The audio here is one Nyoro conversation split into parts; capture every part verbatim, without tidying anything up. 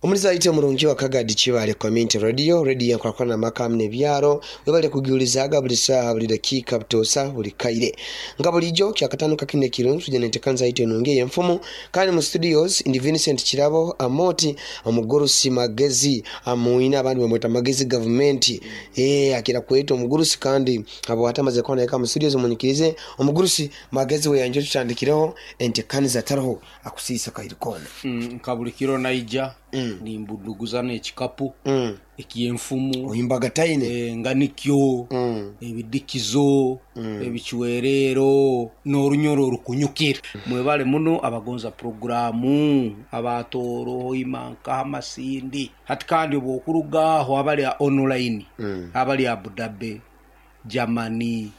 Omuliza omurungi wa Kagadi Kibale Community Radio, radio yankwarakwana makamu n'ebyaro, webale kugiulizaga buli saaha, buli dakiika, butosa buli kaire. Nga bulijjo kyakatano kakine kirungi tujja nentekanza yaitu enungi ey'enfumu. Kandi mu studios ndi Vincent Kirabo Amoti, omugurusi magezi amuina abandi bamweta magezi gavumenti. Eh akira kweta omugurusi kandi abo atamaze kona eka mu studios munyikirize omugurusi magezi we yanje tutandikireho entekaniza taroho akusisa kairikona. Mm, nkabulikiro naija Mm. nimbuduguza n'ekikapu Mm. eky'enfumu oyimbaga taine eh, nganikyo Mm. ebidikizo ebichwerero n'orunyoro orukunyukira. Mwebale muno abagonza programu abatoro imanka amasindi hati kandi obwokurugaho abali a online Mm. abali Abu Dhabi, Germany,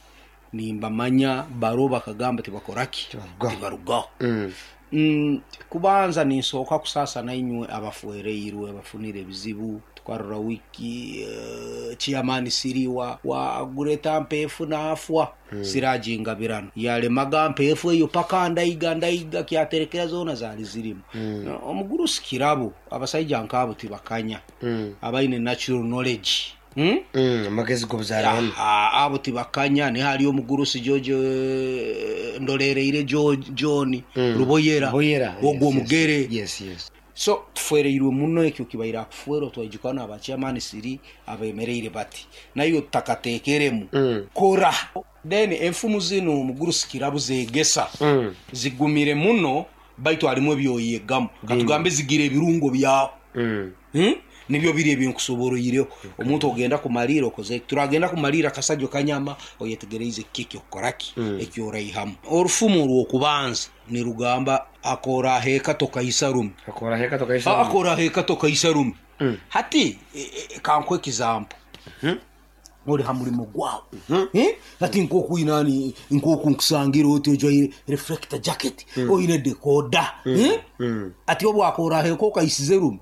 nimbamanya baro bakagamba tibakoraki Tibarugaho. tibarugaho. Mm. Mm, kubanza ninsooka kusasa nainywe abafuereirwe abafunire ebizibu. Twarora wiki uh, chairman siriwa wa gureta mpefu naafwa mm. sirajingabirano yalemaga mpefu eyo paka ndaiga ndaiga kyaterekera zona zali zirimu mm. Omugurusi Kirabo abasaija nkabo tibakanya Mm. abaine natural knowledge mm? Mm. Amagezi g'obuzaarano Ah, abo tibakanya ni hali omugurusi Jojo eh, ndolereire Jo- John Mm. Ruboyera Ruboyera, ogwo yes, omugere yes, yes, yes. So tufereirwe muno ekyo kibaire akufuera twajukana abachairman siri abemereire bati nayo takatekeremu Mm. kora then enfumu zino omugurusi Kirabo zegesa Mm. zigumire muno baitu harimu ebyoyegamu katugambe zigira ebirungo byawo Mm. Hmm? Nibyo biri ebinkusoboroireho omuntu ogenda kumalira okoze turagenda kumalira kasajo kanyama oyetegereize kiki okoraki Mm. ekyoraihamu. Orufumu rw'okubanza nirugamba akora heka tokaisa rume. Akora heka tokaisa Ah, akora heka tokaisa rume. Mm. Hati e, e, kankwe example Mhm. ori ha mulimo gwawe Mhm. Eh? Hati nkokwinani nkoku nkusangira oti ojwaire reflector jacket oine decoder Eh? Mm. Ati obwakora heka okaisize rume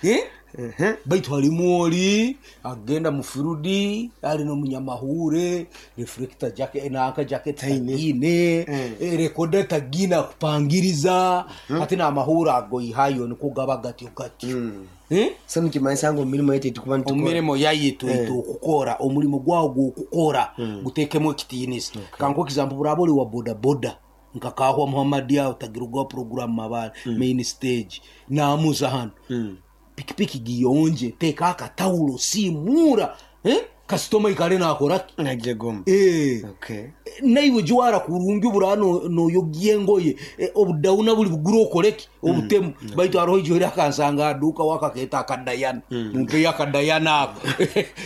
Eh? Mhm. Baitu halimu oli agenda mufirudi ali nomunyamahure reflector jacket nanka jacket tagine Mm. eh, recorder tagine akupangiriza ati n'amahuri ago ihayo niko gaba gatyo gatyo Mm. Eh? So nikimanyisa ngu omirimo yaitu tukuba nitukora Omirimo yaitu Eh. itu okukora omulimo gwawo gwokukora gutekemu ekitiinisa. Kankuha example buraba oli wa boda boda nkakahwa Muhammad aho tagirugwa program mabale main stage namuza hano Mm. pikipiki giyonje teka akatawulo simura eh? Kasitoma ikale nakoraki Najegoma. eh. Okay. Naiwe jwara kurungi obura noyogia engoye eh, obudauna buli buguru okoreki obutemu mm. Baitu hariho ijoire akansanga aduka wakaketa akadayana mm. Mumpeyo akadayana ako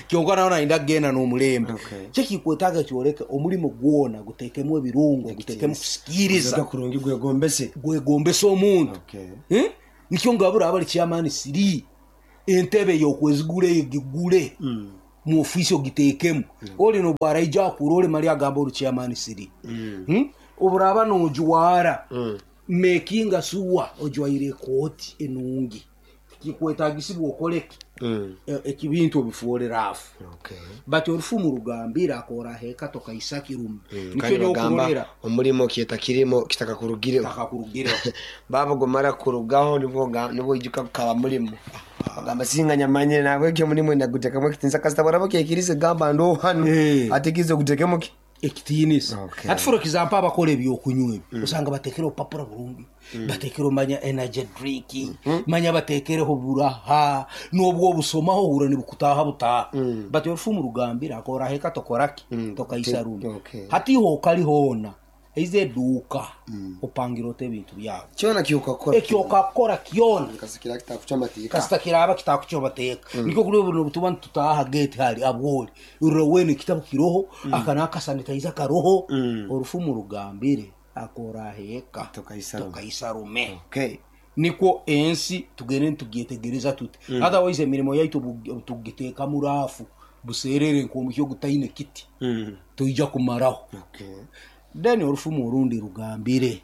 kyonka naho nainda kugenda n'omulembe. Okay. Kyekikwetaaga kyoreke omulimo gwona gutekemu ebirungo gutekemu kusikiriza Ozoga kurungi gwegombese. Gwegombesa omuntu. Okay. Eh? Nikyo ngabura abali chairman siri entebe yokwezigule egigule Mm. mu ofisi ogitekemu oli nobwaraija akura oli mali agamba oli chairman siri. Mm. Hmm? Oburaba nojwara Mm. makinga suwa ojwaire ekooti enungi kikwetagisibwa okoleki Mm. E- ekibintu obifuore rafu. Okay. But orufumu rugambira akora heka tokaisa kirume. Mm. Nikyo Kandi bagamba nyokurorera omulimo kyeta kirimo kitaka kurugireho takakurugireho baba gumara kurugaho nibwo ga- nibwo ijuka kukaba mulimo bagamba singanyamanyire nabwo ekyo mulimo nagutekemu ekitinisa kasita baraba kyekirize gamba ndo hano Eh. atikize gutekemu ki ekitiinisa. Okay. Hati for example abakora ebyokunywa ebi osanga batekere obupapura burungi batekere manya energy drink manya batekereho buraha n'obwo obusomaho ohura nibukutaha butaha. But orufumu rugambira akora heka tokoraki Mm. tokaisa rume. Okay. Hati hoka hoona eize eduuka opangira ota ebintu byawe kyona kyokakora ekyo okakora kyona kasikira kitakuca amateeka kasita kiraba kitakuca amateeka nikyo kuri buno butuba nitutaha gate hari abwoli urora wene ekitabo kiroho aka n'akasanitayiza karoho. Mm. Orufumu rugambire akora heka Tokaisa rume. tokaisa rume. Okay. Nikwo ensi tugende nitugyetegereza tuti otherwise emirimo yaitu bu- tugiteeka mu raafu buserere nk'omuhyo gutaine kiti Mm. toija kumaraho. Okay. Then orufumu orundi rugambire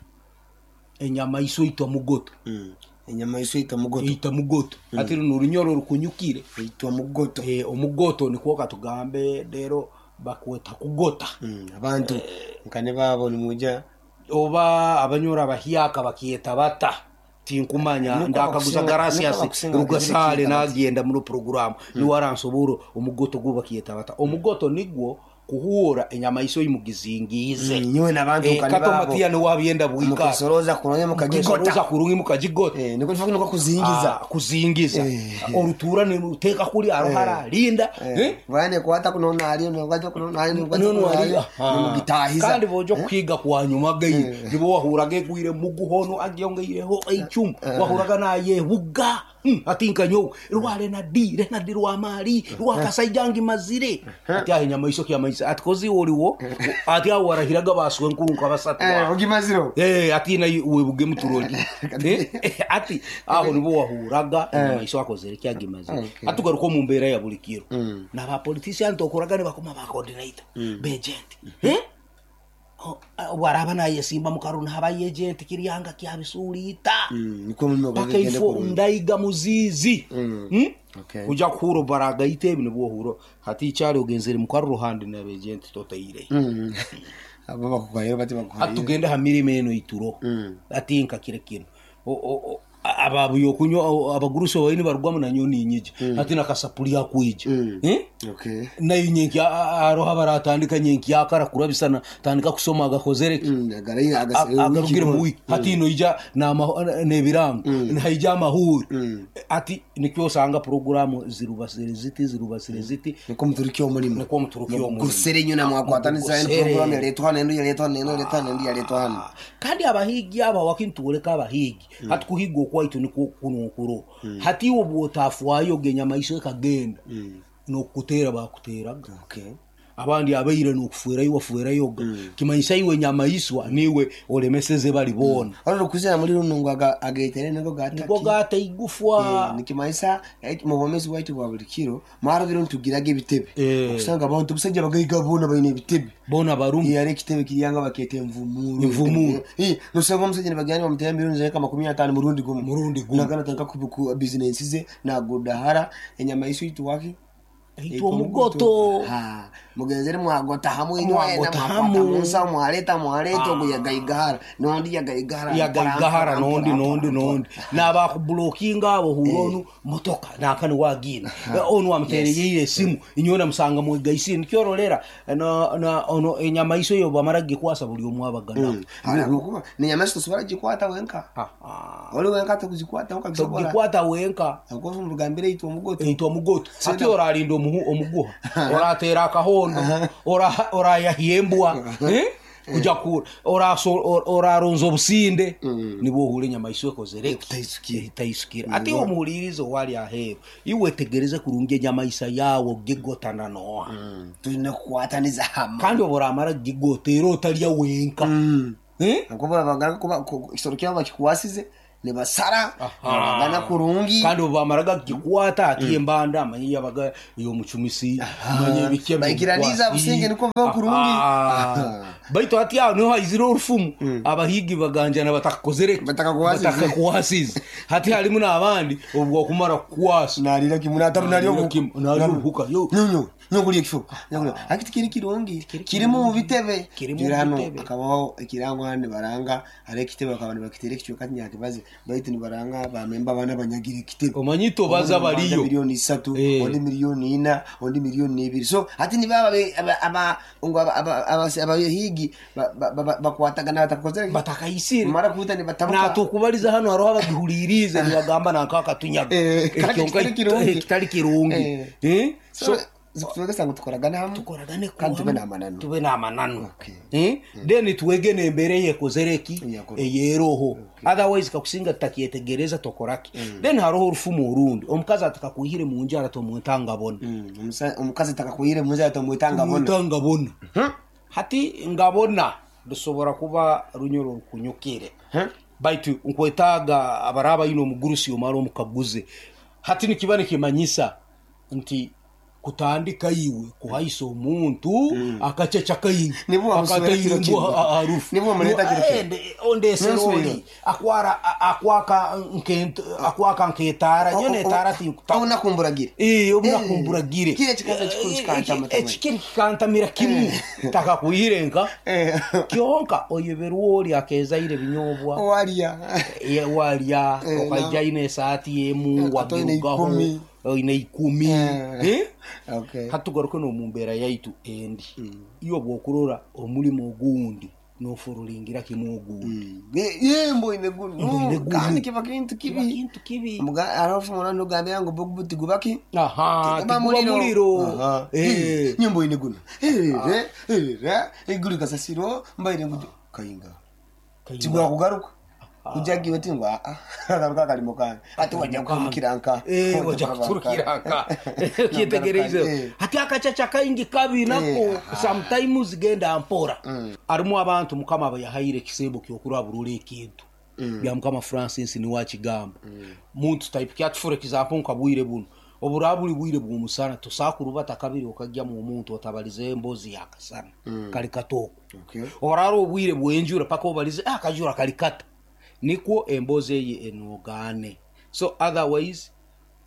enyama iso itwa mugoto. Mm. Enyama iso itwa mugoto. Itwa mugoto ati runo orunyoro rukunyukire itwa mugoto. Eh, omugoto nikwo katugambe rero bakweta kugota. Mm. Abantu nkane babo nimuja oba abanyora abahyaka bakyeta bata Tinkumanya ndakaguza Garasias Rugasale nagenda muri program niwe aransobora omugoto gwo bakiyeta bata omugoto nigwo kuhura enyama iso imugizingize nyowe nabantu eh, kanibabo kato matiya niwe wabyenda bwika mukasoroza kurungi mukagigota mukasoroza kurungi mukagigota eh niko niko niko kuzingiza Ah, kuzingiza Eh. orutura ni uteka kuri arohara linda eh bane kwata kunona ali nkwata kunona ali nkwata nono kunona ari ali mugitahiza kandi bojo kwiga kwa nyuma gayi nibo wahuraga egwire muguhono agyongeireho eicumu wahuraga nayebuga Mm, ati nkanyo rwale na di re na di rwa mali rwa kasaijangi mazire ati ahe nyama iso kya maisa ati kozi woliwo ati awo warahiraga baswe nkuru nkabasatu eh ugimaziro Eh, ati na webuge muturoli Eh, ati aho nibo wahuraga enyama iso akozere kyagimaze Okay. atugaruka mu mbeera ya buli kiro n'abapolitician tokoraga ne bakoma ba coordinator begent eh Oh, ah, bwaraba nayesimba mukaru naba agent kiryanga kyabisuliita niko mulimo paka gwagende ifo kurungi ndaiga muzizi Mm? Okay. kuja kuhuro baragaita ebi nibwo huro hati ikyali ogenzere mukaru ruhande n'abegent totaire Mm. abo bakuhayo bati bakuhayo atugende ha mirimo eno ituro ati nka kire kino O- o- o- ababuye kunywa abagurusi baini barugwamu nanyo ninyija ati nakasapuli akwija Eh? okay nayo nyenki aroha baratandika nyenki akara kurabisana tandika kusoma agakozereki Mm, agarayi agase agarugire mu wiki hati ino ija n'ama- n'ebirango haija amahuri ati nikyo osanga poroguramu zirubasire ziti zirubasire ziti niko muturiki omulimo nikwo muturuki omulimo gusere nyuna mwakwatanisa eno Gusere. program yaletwa hano eno yaletwa hano eno yaletwa hano eno yaletwa hano kandi abahigi aba wakintuoleka abahigi hati kuhiga okwaitu nikwo kunokuro hati iwe bwotafwayo genya maiso ekagenda nokutera bakuteraga okay abandi abaire nokufuerayo wafuerayoga kimanyisa iwe nyamaiswa niwe olemeseze bali bona olwo kuzira muri runo ngo aga- agetere niko gataki niko gata igufwa nikimanyisa eh, mu bwomezi bwaitu bwa buli kiro mwarobire ntugiraga ebitebe Eh. okusanga abantu obusajja bagaiga boona balina ebitebe bona barumu yari ekitebe kiryanga baketa envumuru Envumuru. Eh, nosanga omusajja nibagenda bamutera miliyoni zireka makumi ataano murundi gumu Murundi gumu. nagana tandika ku bizinensi ze nagudahara enyama isu ituwaki itwa omugoto Ha, mugenzere mwagota hamwe inywena Mwagota mwakwata hamwe. munsa mwaleta mwaleta ogu yagaigahara nondi yagaigahara yagaigahara nondi nondi nondi nabakubulokinga abo hura onu motoka nakani wagina onu wamutereyeire esimu inywe namusanga mwegaisire nikyorolera na- na ono enyama iso eyo bamara gikwasa buli omu abagana kuba nenyama isu tosobora gikwata wenka oli wenka tokuzikwata wenka togikwata wenka akofu murugambire itwa omugoto eitwa mugoto ati oralinda omuhu- omuguha oratera akahondo ora- orayahya embwa eh? kuja ku oraso- or- oraronza obusinde nibwo ohura enyama isu ekozere Etaisukire. etaisukire ati omuhulirize owali aheeru iwe tegereze kurungi enyama isa yawe ogigotana noha tulina kukwataniza hamwe kandi oba oramara kugigota era otalya wenka Eh? akubura bagana kuba ku- ekisoro kyabo bakikwasize nibasara Aha. bagana kurungi kandi obu bamaraga kugikwata ati embanda amanye yabaga ey'omucumisi amanye ebiki Baikiraniza businge niko biba kurungi. baitu ati aho niho haizire orufumu abahigi baganjana batakakozere Batakakuwasize. batakakuwasize hati harimu n'abandi obu wakumara kukwasa nalira kimu natabu nalyo Nalira kimu, nalyo obuhuka, yo. nyonyo nyokulya ekifo nyokulya akiti kiri kirungi kirimu mu bitebe Kirimu Jura hano bitebe. akabaho ekirango hano nibaranga hari ekitebe bakaba nibakitera ekicweka tinyakibaze baitu nibaranga bamemba abana banyagira ekitebe omanyi tobaza Ondi baliyo miliyoni isatu Eh. ondi miliyoni ina ondi miliyoni ibiri so hati nibaba abahigi bakwatagana batakozere batakaisire mara kuta nibatabuka natukubaliza hano hariho abagihulirize nibagamba nankakatunyaga Eh, kandi kitari kirungi. kitari kirungi Eh. Eh? so twegesa ngu tukoragane hamwe tukoragane Kandi tube kuwamu, n'amananu. tube n'amananu Okay. Eh? Then twege n'embeera eyekozereki Eyakora. eyeroho otherwise kakusinga tutakyetegereza tokoraki then hariho orufumu orundi omukazi atakakwihire mu njara tomwetangabona Mm, omusa- omukazi takakwire munzi atomwetanga bona tomwetangabona hati ngabona rusobora kuba runyoro rukunyukire baitu nkwetaaga abaraba ino omugurusi omara omukaguze hati nikiba nikimanyisa nti Kutandika iwe kuhaisa omuntu akaceca kaingi Nibwo wamuswera kiro kimwe. Harufu Nibwo wamuleta kiro kimwe. Ondeseroli akwara akwaka nkento akwaka nketara nyo netara tinkuta Obunakumburagira. Eh, obunakumburagire. Kile kikaza kikuru kikantamira. Ekikiri kikantamira kimu takakuyirenka. Eh. Kyonka oyeberwa oli akezaire binyobwa Walya. Ye- walya. Eh, okaija ine esaati yemu. Eh, ate oine wagirugaho ikumi. Oine ikumi. Eh. Eh? Okay. Hatugaruke n'omu mbeera yaitu endi, iyo bwokurora omulimo ogundi nofurulingira kimu ogundi. Ye mboine guno. Mboine guno. Kandi kiba kintu Kiba kibi. kintu kibi. Muga arafu mwana nugambira ngo bugu tigubaki. Aha, Tiguba tiguba muliro. Aha. Eh. Nyimbo ine guno. Eh, eh, eh, iguru kasasiro mbaire ngudu kayinga. Tigwa kugaruka. Kujagiwe tingwa a. Agaruka kalimo kange. Ati wajja kukiranka. Eh, wajja kuturukiraka kyetegereize. Eh. Hati akacaca kaingi kabi nako. Eh, Sometimes genda mpora, arimu abantu Mukama abayahaire ekisembo kyokurabura ekintu bya Mukama Francis niwe akigamba muntu type kyatufura example nka bwire buno obura buli bwire bw'omusana tosakurubata kabiri okajyamu omuntu otabalize embozi yakasana kali katoko. Okay. Orara obwire bwenjura paka obalize ah, akajura kali kata nikwo embozi eye enogane. So otherwise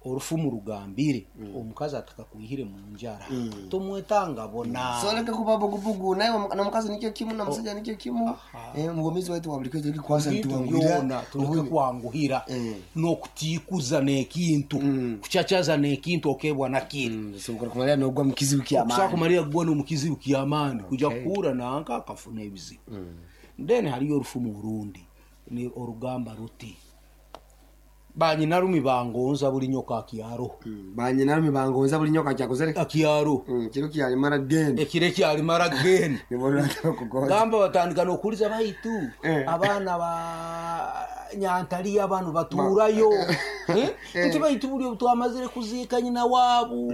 orufumu rugambire omukazi atakakwihire mu njara tomwetanga bona. So leke kuba bugubugu naye na mukazi nikyo kimu na musajja nikyo kimu. Eh, mugomizi waitu wa buli kitu kwasa Bintu ntuwangwira. byona tuleke kwanguhira Eh. n'okutikuza n'ekintu, kucacaza n'ekintu okebwa nakiri. So kumalira nogwa mukizibu kya Okusobola maani. kumalira kugwa n'omukizibu kyamaani kuja kuhura nanka akafuna ebizibu. Then haliyo orufumu orundi ni orugamba ruti banyinarumi bangonza buli nyoka akyaroho. Banyinarumi bangonza buli nyoka kyakozere. Akyaroho. Mm, kiro kyalimara genda. Ekiro ekyalimara genda. Nibwo nataka kugonza. Gamba batandika n'okuliza baitu Eh. abaana ba nyantaliya bano batuurayo. Eh? Nti baitu buli obu twamazire kuziika nyina waabu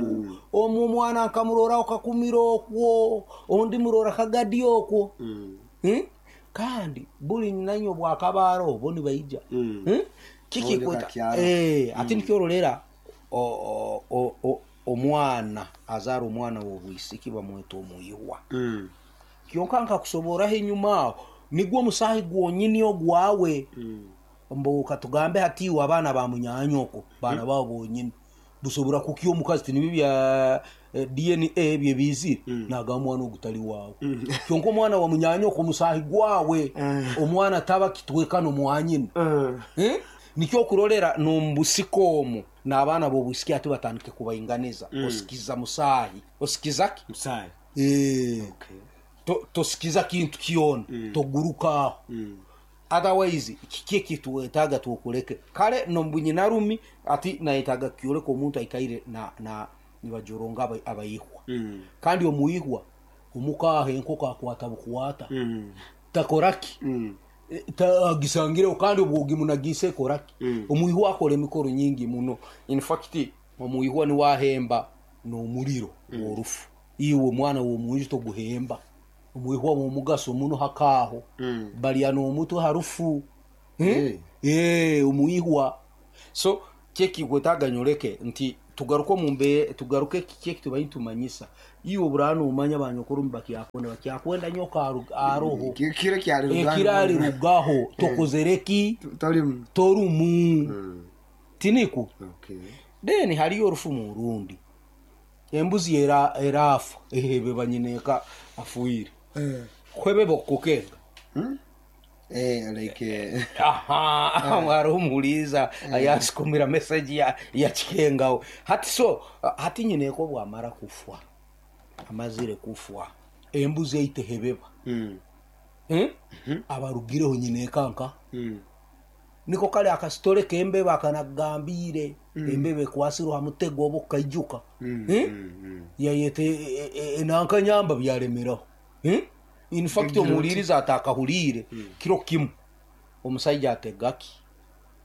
omwo omwana nkamuroraho kakumira okwo ondi murora kagadi okwo. Mm. Eh? Kandi buli nanyo bwakabaaro bo nibaija. Mm. Eh? Kiki Bondi kweta kakyaro. Eh, ate nikyorolera o- o- o- omwana azaara omwana w'obwisiki bamweta omuyihwa. Mm. Kyonka nkakusoboraho enyuma aho nigwo omusaahi gwonyini ogwawe. Mm. Mbu katugambe hatiwe abaana ba munyanyoko baana babo bonyini busobora kukya omukazi tinibi bya eh, D N A byebizire nagamba omwana ogutali wawe, kyonka omwana wa munyanyoko omusaahi gwawe omwana taba kitwekano mwanyina. Mm. Eh? Nikyo okurolera nomubusiko omwo n'abaana b'obwisiki ati batandike kubainganiza osikiza musaahi osikiza ki? Musaahi. Eh. Okay. To- tosikiza kintu kyona toguruka aho. Otherwise kiki ekituwetaaga tukuleke kale nombunyinarumi ati nayetaaga kyoleka omuntu aikaire na, na nibajoronga aba- abayihwa. Mm. Kandi omuyihwa omukaha enkoko akwata bukwata. Mm. Takoraki. Mm. Eh, ta- agisangireho kandi obwogimunagise ekoraki. Mm. Omuyihwa akola emikoro nyingi muno. In fact omuyihwa niwahemba n'omuliro worufu iwe omwana w'omunju toguhemba. Omuyihwa womugaso muno hakaaho. Mm. Balya n'omutwe harufu. Eh. Eh, omuyihwa so kyekikwetaaga nyoleke nti tugaruke omumbe tugaruke kiki tubayi tumanyisa iwe obura nomanya banyokorumi bakyakwenda bakyakwenda nyoka aru- aroho. Ki- Kiro kyali Ekiro rugaho tokozereki. Tolimu. Torumu. Mm. Tiniku. Okay. Then haliyo orufumu orundi embuzi era erafa ehebe banyineka afuire. Eh. Kwebe bokukenga. Hmm? Eh, like eh, Aha, hariho omuhuliza ayasikumira message ya, ya kikengaho hati. So hati nyineko bwamara kufwa amazire kufwa embuzi eitehebeba. Mm. Eh? Abarugireho nyineka nka Mm. niko kale akasitore kembeba akanagambire embeba ekwasirwe ha mutego oba okaijuka. Mm. Eh? Mm. Mm. Yayete enanka nyamba byalemeraho. Eh? In fact omuwuliriza atakahulire kiro kimu omusaija ategaki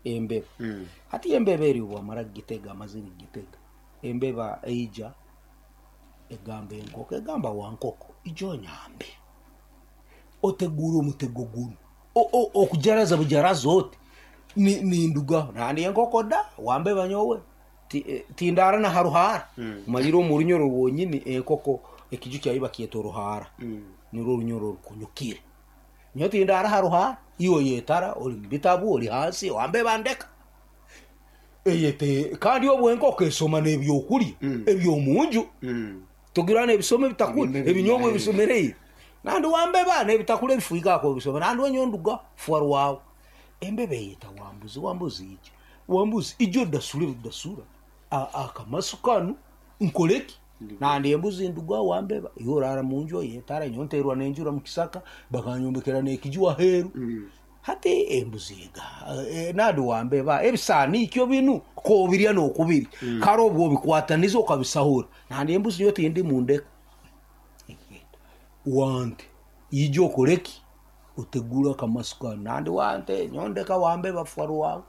embeba. Mm. Hati embeba eri bwamara gitega amazire gitega embeba eija egamba enkoko egamba wankoko ijo nyambe otegura omutego guno. O- o- okujaraza bujaraza oti ni- nindugaho nandi enkoko da wambeba nyowe. Tindara na haruhara maliro mu runyoro rwonyini enkoko ekiju kyayiba kyeto ruhara nirwo runyoro rukunyukire nyo tindara haruhara iyo yetara oli bitabu oli hansi wambe bandeka eyete kandi obwo enkoko esoma n'ebyokulya ebyomunju tugirana ebisome bitakuli ebinyobwa ebisomereye nandi wambe bana ebitakule bifuika ko bisome nandi wenyonduga fuarwawo embebe yeta wambuzi wambuzi ije wambuzi ijo dasule dasura akamasukanu nkoleki nandi embuzi nduga wambeba yorara munjo yetara nyonterwa nenjura mukisaka bakanyombekera nekijwa heru hati embuzi ga e, nandi wambeba ebisani ikyo binu ko birya no kubiri mm. karo obwo bikwatanizo kabisahura nandi embuzi yote ndi mundeka wante ijo koleki utegura kamasukanu nandi wante nyondeka wambeba fuarwawo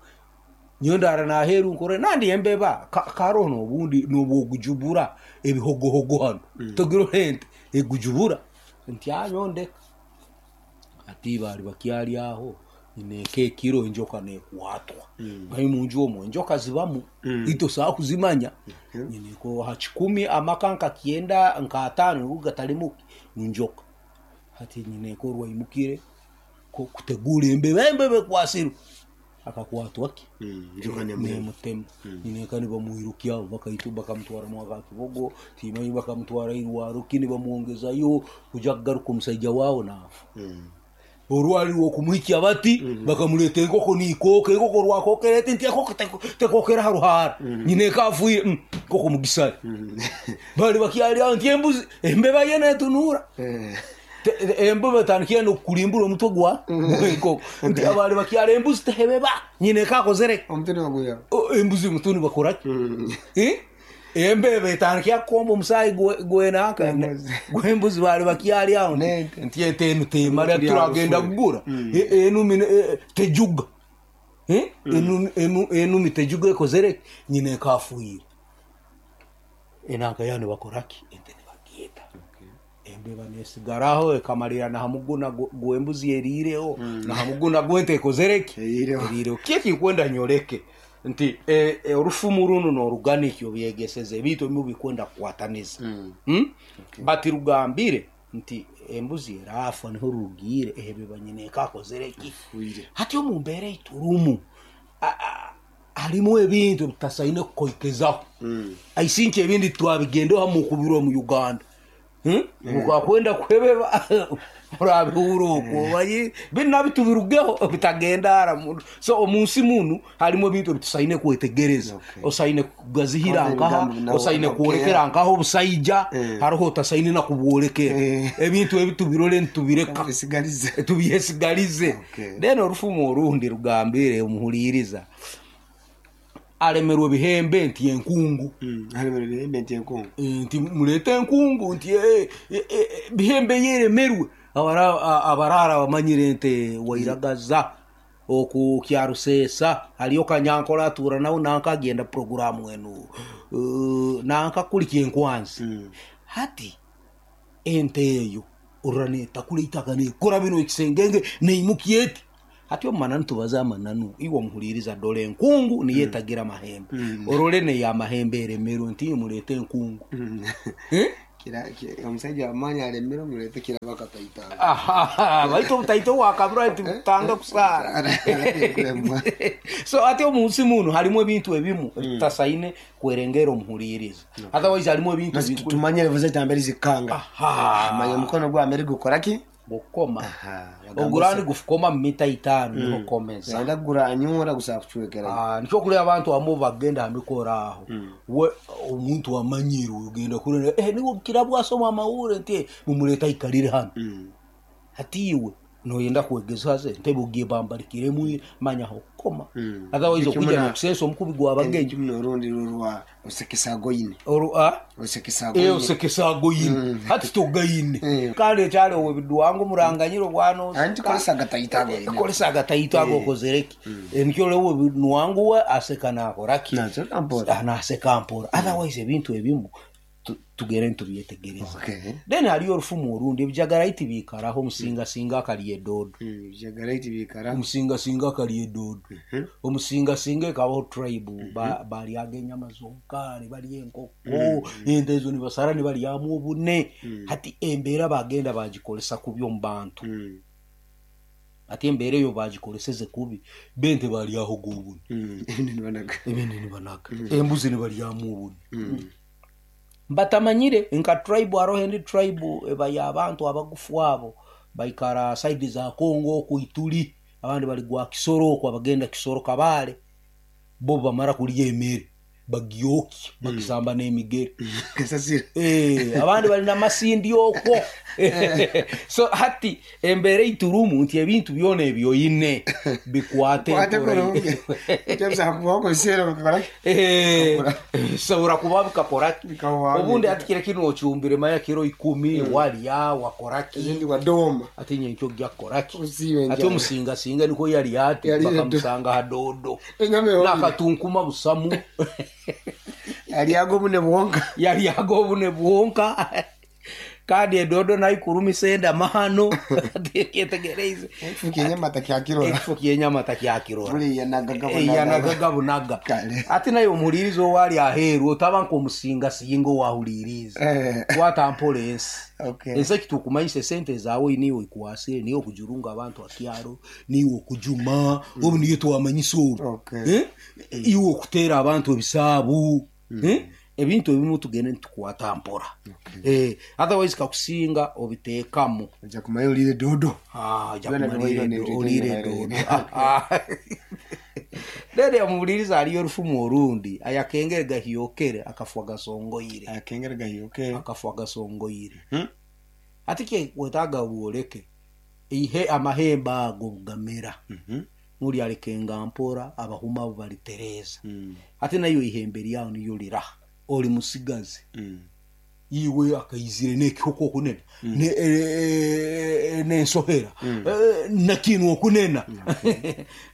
nyondara na heru nkore nandi embeba ka, karo no bundi no bwogujubura ebihogohogo hano mm. togiro hente egujubura nti anyondeka ati bali bakyali aho ineke kiro enjoka nekwatwa mm. bayi munju omwo enjoka zibamu mm. ito saa kuzimanya mm. nyineko ha kikumi amakanka kienda nka atano ugatalimuki njoka hati nyineko rwaimukire ko kutegura embeba embebe kwasiru akakwatwa ki mm, njoka nemutema mm. nineka nibamuirukia bakaitu bakamutwara mwaka kibogo timanyi bakamutwara irwaro kini bamuongezayo kuja kugaruka omusajja wawo nafa mm. orwali rwokumuhikya bati mm -hmm. bakamuleta enkoko niikoka enkoko rwakokerete nti enkoko tekokera haruhara mm -hmm. nyineka afuire mm, nkoko mugisari mm -hmm. bali bakyali aho nti embuzi embeba yene etunura embeba tandikiye nokulimbura omutwe gwa enkoko nti abali bakyala embuzi tehebeba nyineka akozere omutwe baguya embuzi mutuni bakoraki eh embeba etandikiye kukomba omusayi gwenaka gwembuzi bali bakyali aho nti etenu temara turagenda kugura enumi tejuga eh enumi tejuga ekozere nyineka afuire enaka yani bakoraki ente nibagyeta embeba nesigaraho ekamalira na hamuguna gwembuzi eriireho mm. na hamuguna gwente ekozereki eriireho kyeki nkwenda nyoleke nti e, e, orufumu runo noruganikyo byegeseze ebintu ebimu bikwenda kukwataniza mm. hmm? okay. Bati rugambire nti embuzi erafa niho rugire ebeba nyine ekakozereki hati omu mbeera eiturumu harimu ebintu bitasaine kukoikezaho mm. aisinki ebindi twabigendeho mukubirwa mu Uganda Hmm? Mukakwenda kuhebeba murabihura okwo bayi bina bitubirugeho bitagenda ara so omunsi munu harimo ebintu bitusaine kwetegereza okay. Osaine kugazihira nkaha osaine kuolekera nkaho obusaija mm. Hariho otasaine na kubwolekera mm. Ebintu ebitubirole ntubireka tubisigalize tubyesigalize okay. Then orufumu orundi rugambire omuhuliriza alemerwe bihembe nti enkungu mm alemerwe bihembe nti enkungu nti mulete enkungu nti e, e, e, bihembe yeremerwe abara abarara bamanyire nte wairagaza oku kyarusesa haliyo kanyankola atura nawo nanka agenda programu enu uh, nanka kuliki enkwanzi mm. Hati ente eyo oraneta kuleitaka nekora bino ekisengenge neimukieti hati omananu tubaza amananu iwe omuhuliriza dole enkungu niye etagira mahembe mm. Orole ne ya mahembe eremerwe nti mulete enkungu mm. eh? Kira omusajja amanya alemero mulete kira bakataita aha baito butaito wakabura nti tanga kusara so ati omunsi muno halimu ebintu ebimu mm. Tasaine kwerengera omuhuliriza okay. Otherwise halimu ebintu tumanye level zambere zikanga manya mukono gwa Amerika ukoraki gukoma ogurani gufukoma mita itano mm. Niho komeza anda guranyura gusa kucwekera ah nico kuri abantu amo bagenda hamikora aho mm. We omuntu amanyiro ugenda kuri eh niwo kirabwa asoma amaure nti mumuleta ikalire hano mm. Hatiwe noyenda kwegeza ze ntebugiye bambalikire mu manya hokoma mm. Otherwise okujja nokusensa omukubi gwa bagenyi orundi rurwa osekesagoyine oru a osekesagoyine eh osekesagoyine mm. Hati togayine mm. Kale kyale obidwango muranganyiro bwano anti kolesa gataita goyine kolesa gataita go kozereki mm. Enikyo lewo nwangu we aseka nakoraki naseka mpora anaseka mpora otherwise ebintu ebimu Tugere ntubyetegereza. Okay. Then haliyo orufumu orundi, ebijagaraiti biikaraho, omusingasinga akalya edodo. Mm, ebijagaraiti biikaraho. Omusingasinga akalya edodo. Omusingasinga ekabaho tribe, ba- balyaga enyama zonka, nibalya enkoko, ente ezo nibasara nibalyamu obune. Hati embeera bagenda bagikolesa kubi omu bantu. Mm. Ati embeera eyo bagikoleseze kubi, bente balyahoga obune. Mm. Ebindi nibanaga. Ebindi nibanaga, embuzi nibalyamu obune. Batamanyire nka tribe, haroho endi tribe eba y'abantu abagufu abo baikara side za Kongo oku Ituri, abandi bali gwa Kisoro oku, abagenda Kisoro Kabale, bo bamara kulya emere bagyokya, bagisamba n'emigere. Kasasiro. Eh, abandi bali namasindi okwo. So hati embeera eiturumu nti ebintu byona ebyoine bikwate Kwate empora. kurungi. Kyabisa kubaho kubiseera bikakora ki? Eh, bisobora kuba bikakora ki? Bikawa. Obundi ati kire kinu ocumbire maya kiro ikumi, walya wakora ki, Ezindi wadoma. ati nyenkyo ojja kukora ki? Usiibe Ati enjala. omusingasinga niko yali ati Yali bakamusanga ha dodo Enyama ehomire. nakatunkuma busamu. Alyaga obune bwonka. Yalyaga obune bwonka, kandi edodo naikurumisa endamano kyetegereize. Ekifo kyenyama takyakirora. Ekifo kyenyama takyakirora. Buli yanagaga bunaga. Yanagaga bunaga. Kale. Ati naye omuhuliriza owaali aheeru otaba nk'omusingasinga owahuliriza. Eh. Watampola ensi. Okay. Ensi ekitukumanyisa esente zaawe niiwe ikwasire, niiwe okujurunga abantu akyaro, niiwe okujuma obu niyo twamanyisa obu. Okay. Eh? Iwe okuteera abantu ebisaabu. Eh? Ebintu ebimu tugende nitukwata mpora. Eh, otherwise kakusinga obiteekamu. Ojja kumanya olire dodo. Ah, ojja Byona kumanya bibaire olire n'ebyo olire byona dodo. Then omuwuliriza aliyo orufumu orundi, ayakengere gahyokere akafwa gasongoire. Akengere gahyokere. Akafwa gasongoire. Hmm? Ati kye wetaaga bwoleke ihe amahembe ago gamera. Mhm. Nuli alekenga mpora, abahuma abo balitereeza. Mm. Ate nayo ihembe lyawo niyo liraha oli musigazi. Mm. Iwe akaizire n'ekihoko okunena ne- eh, n'ensohera Eh, nakinu okunena,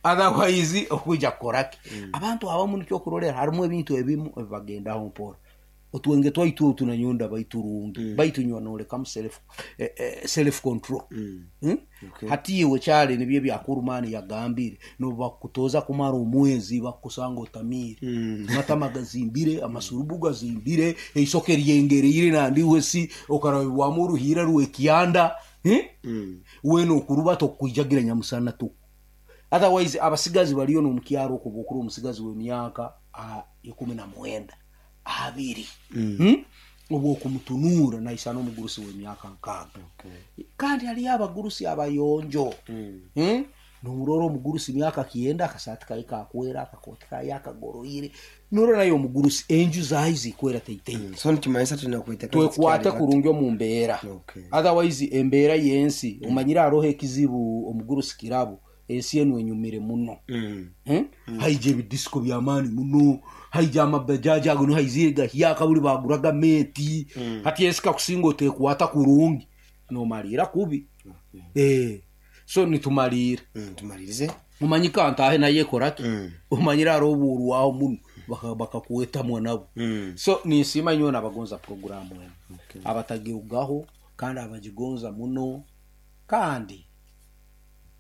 otherwise okuja kukoraki? Abantu abamu nikyo okurolera harimu ebintu ebimu ebibagendaho mpora. Otwenge twaitu otu nanyonda baiturungi baitunywa nolekamu self, eh, eh, self control. Mm. Hmm? Okay. Hati iwe kyali nibyo ebyakurumani yagambire nobakutoza kumara omwezi bakusanga otamiire. Mm. Amatama gazimbire, amasurubu gazimbire, eisoke ryengereire nandiwe si okarabibwamu oruhiira rwekyanda. Eh? Mm. Wena okuruba tokwijagira nyamusana tu. Otherwise abasigazi baliyo nomukyaro okuba okuri omusigazi w'emyaka ah, ikumi na mwenda abiri. Mm. Hmm? Obwo okumutunuura naisana omugurusi w'emyaka nkaaga. Okay. Kandi haliyo abagurusi abayonjo. Mm. Hmm? Nomurora omugurusi myaka kyenda, akasaati kaye kakwera, akakooti kaye akagoroire, norora naye omugurusi enju zayi zikwera teiteite. So nikimanyisa tulina kweteka Twekwate kurungi omu mbeera. Okay. Otherwise embeera y'ensi omanyire haroho ekizibu omugurusi kirabo, ensi enu enyumire muno. Mm. Hmm? Haija ebidisiko byamaani muno, haija amabajaji ago niho haizire gahyaka buli baguraga meeti. Hati ensi kakusinga otekwata kurungi nomaliira kubi. Eh, so nitumaliira. Mm, tumalirize. Omanyi kantahe naye ekoraki? Mm. Omanyire hariho obuurwaho muno baka- bakakwetamwa nabo. Mm. So ninsiima nyowe nabagonza puroguramu enu. Abatagirugaho kandi abagigonza muno, kandi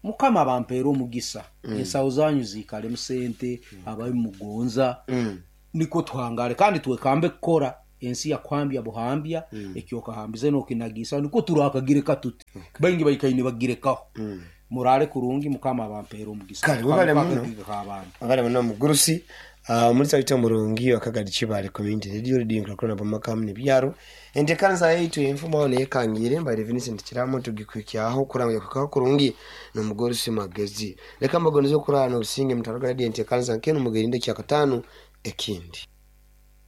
mukama bampeera omugisa. Ensawo zanyu ziikalemu sente ababimugonza. Mm. Niko tuhangale kandi twekambe kukora. Ensi yakuhambya buhambya, ekyokahambize nokinagisa niko turakagireka tuti baingi baikaine bagirekaho. Mm. Murale kurungi, mukama bampeera omugisa. Kale, webale muno. Akagireka abantu. Abale muno omugurusi. Ah, omulisa waitu omurungi wakagadi Kibale Community Radio, Radio nkulakula pamakamu nebyaro. Entekanza yaitu enfumo aho neyekangire mbaire Vincent Kiramo tugikwikyaho kuranga kukaho kurungi n'omugurusi Magezi. Leka mbagonize okurana obusinge mutaraga radio entekanza nkenu mugerinde kyakatano ekindi.